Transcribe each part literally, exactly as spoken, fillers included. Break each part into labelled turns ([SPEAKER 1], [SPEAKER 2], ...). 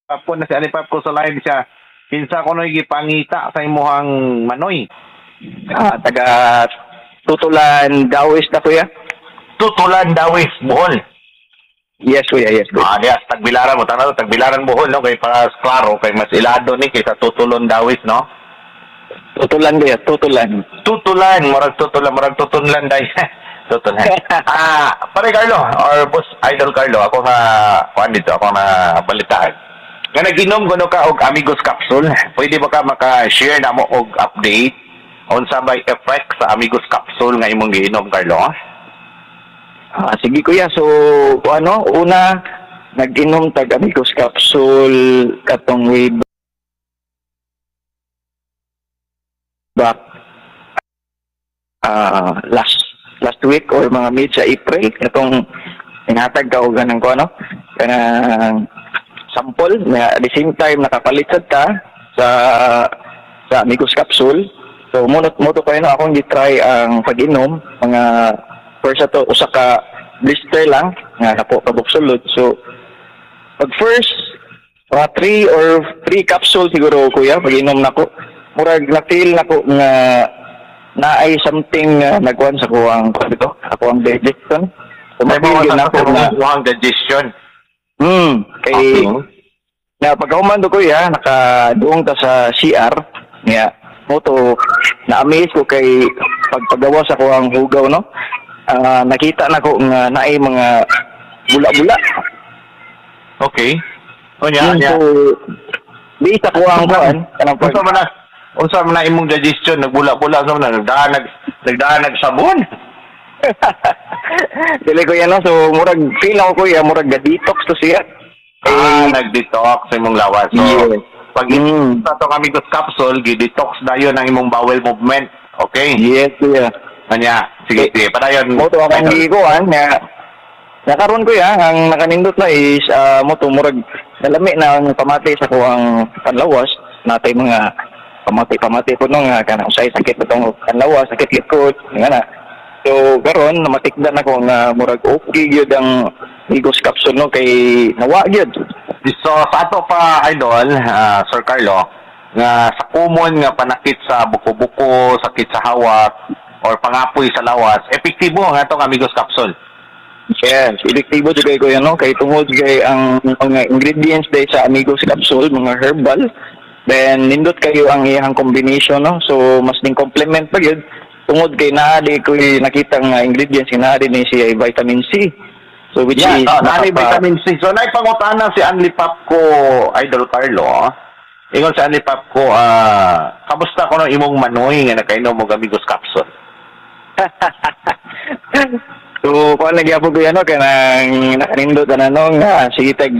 [SPEAKER 1] Pap ko na si Andy Pap ko sa live siya. Kinsa ko no gipangita sa imuhang manoy.
[SPEAKER 2] Ah, taga Tutulan, Dawis na, kuya.
[SPEAKER 1] Tutulan, Dawis, Bohol.
[SPEAKER 2] Yes, kuya, yes, kuya.
[SPEAKER 1] Ah, diya, Tagbilaran mo tanaw, Tagbilaran, Bohol, no, kay para klaro kay mas ilado ni kaysa Tutulon Dawis, no?
[SPEAKER 2] Tutulan, kuya, Tutulan.
[SPEAKER 1] Tutulan, murag tutulan, murag tutunlan day. Tutulan. Ah, pare Carlo or Boss Idol Carlo, ako nga kuan dito, ako na balitaan. Nga nag-inom kuno ka og Amigos capsule. Pwede ba ka maka-share namo og update unsa bay effect sa Amigos capsule nga imong giinom, Carlo?
[SPEAKER 2] Ah, sige, kuya, so ano, una nag-inom tag Amigos capsule katong way back ah last last week or mga mid sa April, katong inhatag ka og ganang ko ano, kanang sample na at the same time nakapalit sad ka sa sa Amigos capsule. So munot mo to kayo no, akong gi-try ang pag-inom mga first ato usa ka blister lang nga napo ka sulod. So pag first mga three or three capsule siguro, kuya, pag-inom nako, murag na feel nako nga naay something uh, nagkuan sa kuang dito, ako ang digestion. So
[SPEAKER 1] May
[SPEAKER 2] ma-feel
[SPEAKER 1] mga
[SPEAKER 2] yun nako na
[SPEAKER 1] ang digestion.
[SPEAKER 2] hmm kay
[SPEAKER 1] Okay.
[SPEAKER 2] na pagkahuman do, kuya, nakaduong ta sa C R nga mo to na-amaze ko kay pagpagawa sa kuang hugaw no, ah, nakita nako nga naay mga bula-bula.
[SPEAKER 1] Okay. Unya,
[SPEAKER 2] Hmm,
[SPEAKER 1] unya.
[SPEAKER 2] So di sa kuang kuan kanang pag
[SPEAKER 1] Unsa man na unsa man na imong digestion nagbula-bula sa man na nagdaan nag nagdaan nagsabon?
[SPEAKER 2] Dili ko yan no, so murag feel ako, kuya, murag ga-detox to siya.
[SPEAKER 1] Ah,
[SPEAKER 2] Eh,
[SPEAKER 1] nag-detox sa imong lawas. So,
[SPEAKER 2] Yes.
[SPEAKER 1] pag
[SPEAKER 2] Mm.
[SPEAKER 1] sa atong Amigos capsule, gi-detox dayon ang imong bowel movement. Okay?
[SPEAKER 2] Yes, kuya.
[SPEAKER 1] Kanya, sige, sige. Padayon.
[SPEAKER 2] Mo to akong
[SPEAKER 1] Idol.
[SPEAKER 2] gikuan nga nakaron, kuya, ang nakanindot na is uh, mo to murag nalami na ang pamati sa kuang panlawas natay, mga pamati-pamati po no nga kanang usay sakit itong panlawas, sakit likod nga na. So karon namatikdan ako nga murag okay gyud ang Amigos capsule no, kay nawa gyud.
[SPEAKER 1] So, sa ato pa, Idol, ah, Sir Carlo, nga sa common nga panakit sa buko-buko, sakit sa hawak, or pangapoy sa lawas, epektibo ang atong Amigos capsule.
[SPEAKER 2] Yes, epektibo jud kay, kuya, no, kay tungod kay ang mga ingredients day sa Amigos capsule mga herbal, then nindot kayo ang iyang combination no. So mas ning complement pa gyud tungod kay naa di ko nakita nga ingredients nga naa ni siya ay vitamin C. So which
[SPEAKER 1] Yeah,
[SPEAKER 2] is
[SPEAKER 1] oh, naay
[SPEAKER 2] nakapa-
[SPEAKER 1] vitamin C. So, naipangutana si Anli Pap ko, Idol Carlo. Ingon si Anli Pap ko, ah, kamusta ko no imong manoy nga nakainom og Amigos capsule?
[SPEAKER 2] So kuan lagi ako, kuya, no, kanang nakanindot na no nga sige tag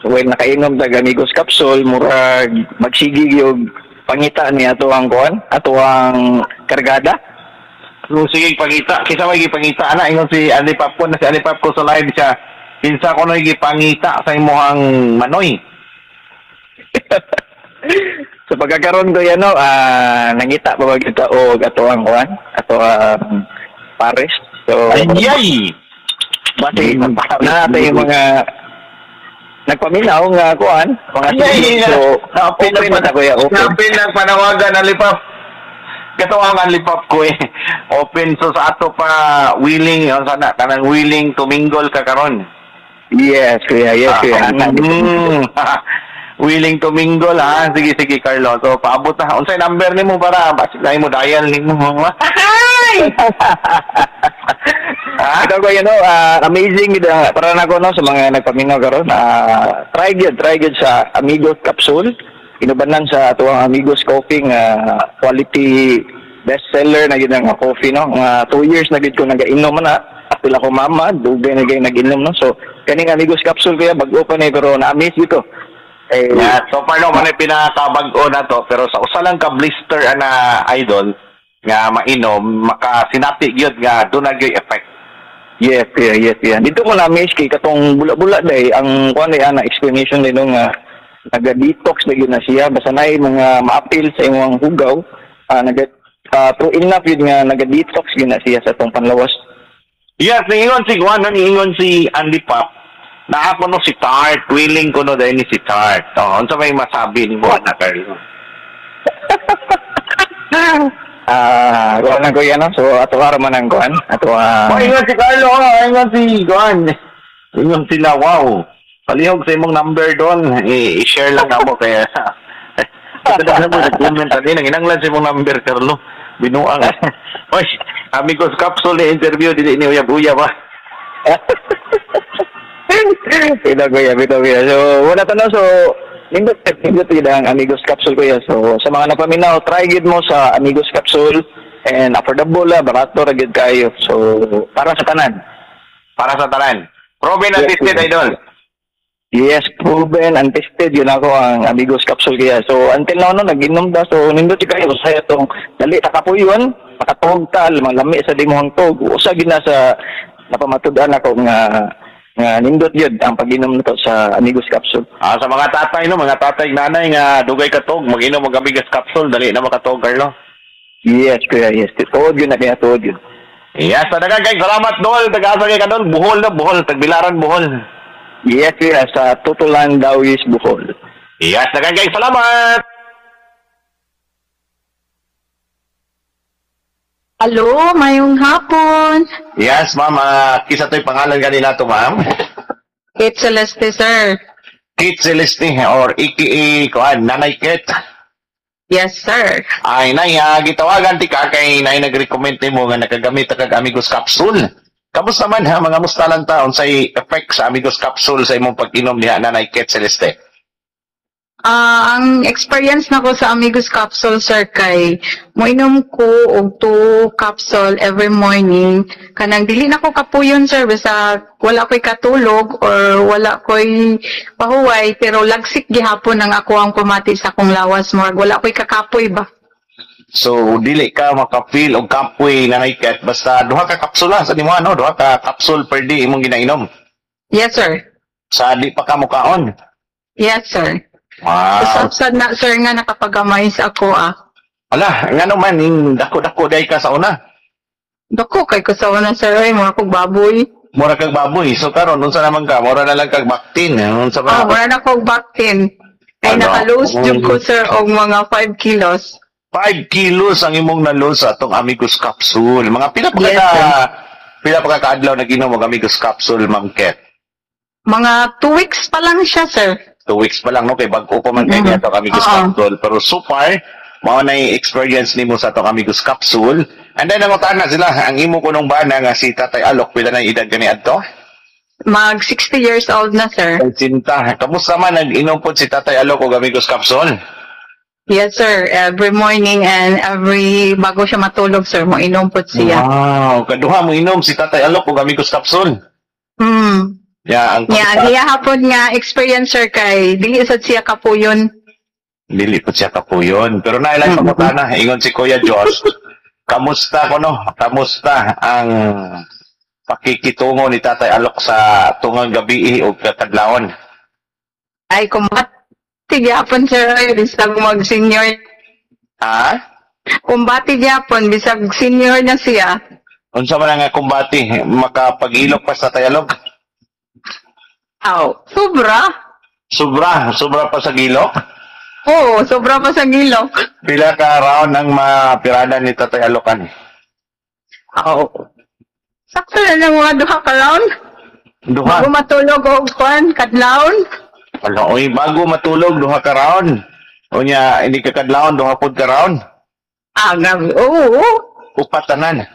[SPEAKER 2] well nakainom tag Amigos capsule, murag magsige og pangita ni ato ang kuan, ato ang kargada.
[SPEAKER 1] So, sige, pangita. Kinsa may gipangita ana? Ingon si Anli Pap ko na si Anli Pap ko sa live siya. Kinsa ko no gipangita sa imong manoy?
[SPEAKER 2] So pagkakaroon ko yan no, ah nangita pa ba kita og ato ang kuan, ato ang pares. So
[SPEAKER 1] Ayay!
[SPEAKER 2] base na natin yung mga nagpaminaw nga kuan, mga
[SPEAKER 1] Ayay!
[SPEAKER 2] so
[SPEAKER 1] Open
[SPEAKER 2] open na ta, kuya, open.
[SPEAKER 1] Open lang panawagan Anli Pap. Kato ang Anli Pap ko eh. Open, so sa ato pa willing on sana kanang willing to mingle ka karon.
[SPEAKER 2] Yes, kuya, yes, kuya.
[SPEAKER 1] Ah, mm, willing to mingle ha. Sige, sige, Carlo. So paabot na. Unsay number nimo para basig na imo dial nimo? Ha?
[SPEAKER 2] Ito ko you know, ah, amazing gid ang- para nako no sa mga nagpaminaw karon. Ah, try gyud, try gyud sa Amigos capsule. Inubanan sa atuang Amigos Coffee nga quality bestseller na gid ang coffee no. Nga two years na gid ko nagainom na. Apil ako mama, dugay na gid nag-inom no. So kaning Amigos capsule, kuya, bag-o pa ni pero na-amaze gid ko. Eh,
[SPEAKER 1] Yeah, so far no man ay pinakabag-o na to, pero sa usa lang ka blister ana, Idol, nga mainom makasinati gyud nga duna gyud effect.
[SPEAKER 2] Yes, yeah, yes, yeah. Dito ko na-amaze kay katong bula-bula day ang kuan day ana explanation nino nga naga-detox na gyud na siya basta naay mga maapil sa imong hugaw, ah naga ah, true enough yun nga naga-detox gyud na siya sa atong panlawas.
[SPEAKER 1] Yes, niingon si Juan, niingon si Andy Pap Naa ko no si Tart, willing ko no dahil ni si Tart. Oh, unsa may masabi nimo ana Carlo?
[SPEAKER 2] Ah, kuan lang kuya no. So ato ara man ang kuan. Ato ah.
[SPEAKER 1] Oh, ingon si Carlo, oh, ingon si kuan. Ingon sila, wow. Palihog sa imong number doon. I- I-share lang namo kaya. Ito na mo nag-comment ani nang inanglan sa imong number Carlo. Binuang. Oy, Amigos Capsule ni interview dili ni uyab-uyab ah.
[SPEAKER 2] Bitaw kuya, bitaw kuya. So wala ta no. So nindot nindot gid ang Amigos Capsule kuya. So sa mga napaminaw, try gid mo sa Amigos Capsule and affordable la, barato ra gid kayo. So para sa tanan.
[SPEAKER 1] Para sa tanan. Proven and
[SPEAKER 2] Yes,
[SPEAKER 1] tested,
[SPEAKER 2] kuya.
[SPEAKER 1] idol.
[SPEAKER 2] Yes, proven and tested yun ako ang Amigos Capsule kaya. So until now no nag-inom da so nindot jud kayo sa itong dali ta kapuyon, makatuog ta, malami sa dimuhang tog. Usa gid na sa napamatud-an ako nga nga nindot yun ang pag-inom nito sa Amigos Capsule.
[SPEAKER 1] Ah, sa mga tatay no, mga tatay nanay nga dugay katog, mag-inom og Amigos Capsule, dali na makatog Carlo.
[SPEAKER 2] Yes, kuya, yes. Tuod yun na kaya tuod yun.
[SPEAKER 1] Yes, daghang kay salamat dol, taga-asa kay kadol, Bohol na Bohol, tagbilaran Bohol.
[SPEAKER 2] Yes, kuya, sa Tutulan Dawis, Bohol.
[SPEAKER 1] Yes, daghang kay salamat.
[SPEAKER 3] Hello, mayong hapon.
[SPEAKER 1] Yes, ma'am, ah, kisa to'y pangalan kanina to, ma'am.
[SPEAKER 3] Kate Celeste, sir.
[SPEAKER 1] Kate Celeste or AKA kuan, Nanay Kate.
[SPEAKER 3] Yes, sir.
[SPEAKER 1] Ay, nay, ah, gitawagan ti ka kay nay nag-recommend nimo nga nakagamit ta kag Amigos Capsule. Kamusta man ha, mga musta lang ta unsay effect sa Amigos Capsule sa imong pag-inom diha Nanay Kate Celeste?
[SPEAKER 3] Ah, ang experience nako sa Amigos Capsule, sir, kay moinom ko og two capsule every morning. Kanang dili na ko kapuyon, sir, basta wala ko'y katulog or wala ko'y pahuway, pero lagsik gihapon ang ako ang pamati sa akong lawas. Murag wala ko'y kakapoy ba?
[SPEAKER 1] So dili ka maka-feel og kapoy Nanay Kate basta duha ka kapsula sa nimo ano, duha ka capsule per day imong ginainom.
[SPEAKER 3] Yes, sir.
[SPEAKER 1] Sa di pa ka mukaon.
[SPEAKER 3] Yes, sir.
[SPEAKER 1] Wow.
[SPEAKER 3] Usap sad na, sir, nga nakapagamay sa ako, ah.
[SPEAKER 1] Ala, ngano man ning dako-dako day ka sa una.
[SPEAKER 3] Dako kay ko sa una, sir, ay, mga kong baboy.
[SPEAKER 1] Mura kag baboy. So karon unsa naman ka? Mura na lang kag baktin. Unsa
[SPEAKER 3] Ah,
[SPEAKER 1] ba?
[SPEAKER 3] wala na kong baktin. Ay,
[SPEAKER 1] Ano?
[SPEAKER 3] naka-lose jud ko, sir, og mga five kilos.
[SPEAKER 1] five kilos ang imong na-lose sa atong Amigos Capsule. Mga pila pa
[SPEAKER 3] Yes,
[SPEAKER 1] ka
[SPEAKER 3] sir.
[SPEAKER 1] pila pa ka kaadlaw nag-inom og Amigos Capsule, Ma'am Ket?
[SPEAKER 3] Mga two weeks pa lang siya, sir.
[SPEAKER 1] Two weeks pa lang no kay bag-o pa man kay
[SPEAKER 3] Mm.
[SPEAKER 1] niya atong Amigos
[SPEAKER 3] Oo.
[SPEAKER 1] Capsule. Pero so far, mao na yung experience nimo sa atong Amigos Capsule. And then nangutan na sila ang imo kunong bana nga si Tatay Alok pila na yung edad kani adto?
[SPEAKER 3] Mag sixty years old na, sir.
[SPEAKER 1] Ay, Sinta. Kamusta man nag-inom pod si Tatay Alok og Amigos Capsule?
[SPEAKER 3] Yes, sir. Every morning and every bago siya matulog, sir, mo inom po siya.
[SPEAKER 1] Wow, kaduha mo inom si Tatay Alok og Amigos Capsule.
[SPEAKER 3] Hmm.
[SPEAKER 1] Ya, ang
[SPEAKER 3] Yeah, iya hapon nga experience, sir, kay dili sad siya kapuyon.
[SPEAKER 1] Dili po siya kapuyon. Pero nailay
[SPEAKER 3] Mm.
[SPEAKER 1] pa na, ingon si Kuya Josh. Kamusta ko no? Kamusta ang pakikitungo ni Tatay Alok sa tungang gabi o katadlawon?
[SPEAKER 3] Ay, kumbati gyapon, sir, ay, bisag mag-senior.
[SPEAKER 1] Ha?
[SPEAKER 3] Kumbati gyapon, bisag senior na siya.
[SPEAKER 1] Unsa man nga kumbati makapag-ilok pa sa Tatay Alok?
[SPEAKER 3] Aw, sobra.
[SPEAKER 1] Sobra, sobra pa sa gilok?
[SPEAKER 3] Oo, sobra pa sa gilok.
[SPEAKER 1] Pila ka round ang mapirada ni Tatay Alokan?
[SPEAKER 3] Aw. Sakto na lang mga duha ka round.
[SPEAKER 1] Duha.
[SPEAKER 3] Bago matulog og kwan, kadlawon.
[SPEAKER 1] Ala, oy, bago matulog duha ka round. Unya, hindi ka kadlawon duha pud ka round.
[SPEAKER 3] Ah, grabe. Oo. oo.
[SPEAKER 1] Upat tanan.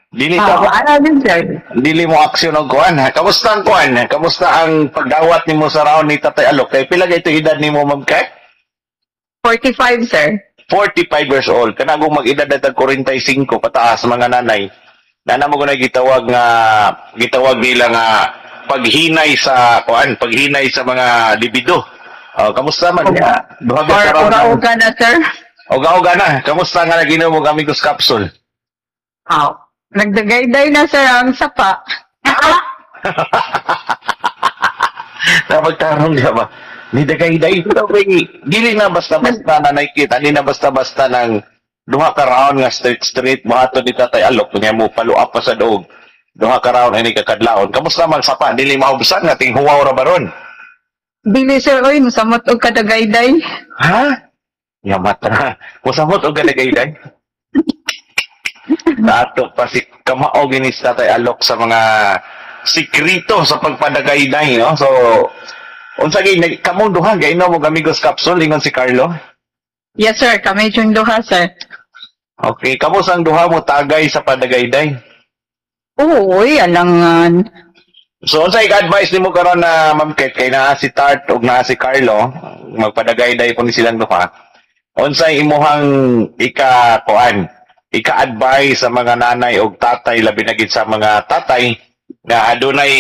[SPEAKER 1] Dili ta
[SPEAKER 3] Ah, ano din, sir?
[SPEAKER 1] dili mo aksyon og kuan. Kamusta ang kuan? Kamusta ang pagdawat nimo sa round ni Tatay Alok? Kay pila kay edad nimo ma'am kay?
[SPEAKER 3] forty-five, sir.
[SPEAKER 1] forty-five years old. Kanagong mag-edad na tag forty-five pataas mga nanay. Nana mo kunay gitawag nga gitawag nila nga paghinay sa kuan, paghinay sa mga libido. Oh, kamusta man?
[SPEAKER 3] Oga.
[SPEAKER 1] Duha
[SPEAKER 3] Or
[SPEAKER 1] ka round.
[SPEAKER 3] uga-uga na, sir?
[SPEAKER 1] Uga-uga na. Kamusta nga naginom og Amigos Capsule?
[SPEAKER 3] Aw. Nagdagayday na, sir, ang sapa.
[SPEAKER 1] Napagtarong niya ba? Ni dagayday daw kay dili na basta-basta na nakikita, hindi na basta-basta ng duha ka round nga straight straight buhaton ni Tatay Alok nya mo paluap pa sa doog. Duha ka round ini kakadlawon. Kamusta man sapa dili mahubsan nga tinghuwaw ra baron?
[SPEAKER 3] Dili sir, oy, musamot og kadagayday.
[SPEAKER 1] Ha? Yamat na. Musamot og kadagayday. Dato pa si kamaog ini si Tatay Alok sa mga sikrito sa pagpadagayday, no? So, unsa gyud nag- kamong duha gainom og Amigos capsule ingon si Carlo?
[SPEAKER 3] Yes sir, kami yung duha sir.
[SPEAKER 1] Okay, kamo sang duha mo tagay sa padagayday.
[SPEAKER 3] Oo, oy, alangan.
[SPEAKER 1] So, unsay advice nimo karon na Ma'am Ket kay naa si Tart ug naa si Carlo, magpadagayday po ni silang duha. Unsay imuhang ika kuan, ika-advise sa mga nanay ug tatay labi na gid sa mga tatay nga adunay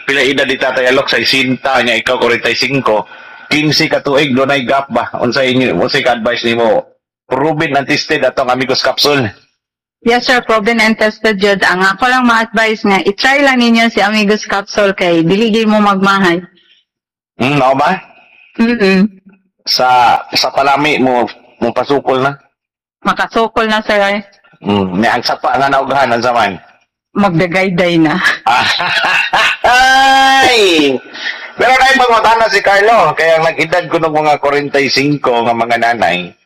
[SPEAKER 1] pila edad ni Tatay Alok sa sesenta nya ikaw kwarenta y singko, kinse ka tuig dunay gap ba? Unsay inyo unsay ka-advise nimo? Proven and tested atong Amigos capsule.
[SPEAKER 3] Yes sir, proven and tested jud. Ang ako lang ma-advise nga, i-try lang ninyo si Amigos Capsule kay dili gyud mo magmahay.
[SPEAKER 1] Hmm, mao ba?
[SPEAKER 3] Mm.
[SPEAKER 1] Sa sa palami mo mo pasukol na.
[SPEAKER 3] Makasukol na sir.
[SPEAKER 1] Mm, ni ang sapa nga naughan ang zaman.
[SPEAKER 3] Magdagayday na.
[SPEAKER 1] Ay! Pero na pangutana si Carlo, kaya ang nag-edad ko ng mga kwarenta y singko nga mga nanay,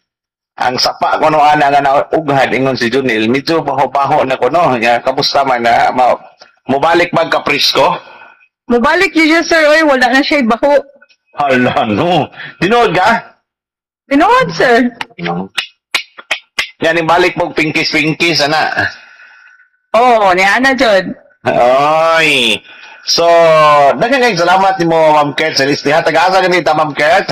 [SPEAKER 1] ang sapa ko no ana nga naughad ingon si Junil, medyo baho-baho na ko no. Ya, kamusta man na ma, mubalik magka-presko?
[SPEAKER 3] Mubalik yun siya, sir. Oy, wala na siya baho.
[SPEAKER 1] Hala no. Tinuod ka?
[SPEAKER 3] Tinuod, sir.
[SPEAKER 1] No. Yan, balik mo pinkis-pinkis, ana.
[SPEAKER 3] Oo, oh, ni ana jud.
[SPEAKER 1] Oy. So, daghang kayong salamat nimo Ma'am Kurt Celeste. Ha, taga-asa ganita Ma'am Kurt?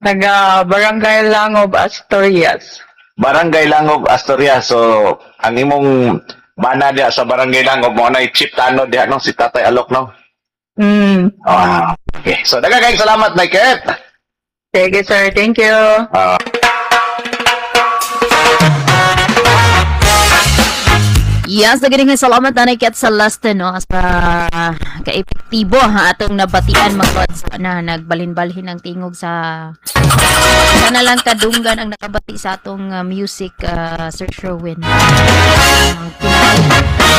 [SPEAKER 3] Taga Barangay Langob, Asturias.
[SPEAKER 1] Barangay Langob, Asturias. So, ang imong bana diha sa Barangay Langob mo na chief tanod diha no si Tatay Alok no.
[SPEAKER 3] Mm.
[SPEAKER 1] Ah, okay. So, daghang kayong salamat na Kurt.
[SPEAKER 3] Sige, sir. Thank you.
[SPEAKER 1] Ah.
[SPEAKER 4] Yes, nagaling nga salamat nanay Kat Celeste no sa kaepektibo ha atong nabatian mga lods na nagbalhin-balhin ang tingog sa sana lang kadunggan ang nakabati sa atong uh, music uh, Sir Sherwin. Uh,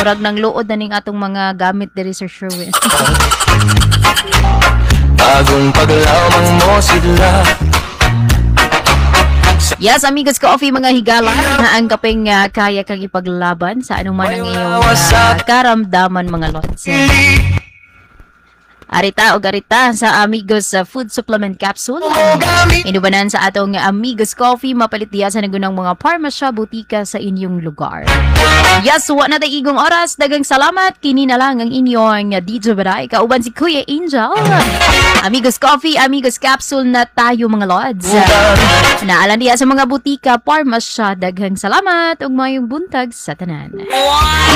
[SPEAKER 4] murag nang luod na ning atong mga gamit diri Sir Sherwin.
[SPEAKER 5] Bagong paglamang mo sila
[SPEAKER 4] Yes, Amigos Coffee mga higala na ang kapeng uh, kaya kang ipaglaban sa anuman ang iyong uh, karamdaman mga lods. Arita o garita sa Amigos uh, Food Supplement Capsule. Inubanan sa atong Amigos Coffee, mapalit diya sa nagunang mga parmasya, butika sa inyong lugar. Yes, wa na tay igong oras. Dagang salamat. Kini na lang ang inyong D J Baray. Kauban si Kuya Angel. Amigos Coffee, Amigos Capsule na tayo mga lods. Naalan diya sa mga butika, parmasya. Daghang salamat ug mayong buntag sa tanan.
[SPEAKER 5] Iba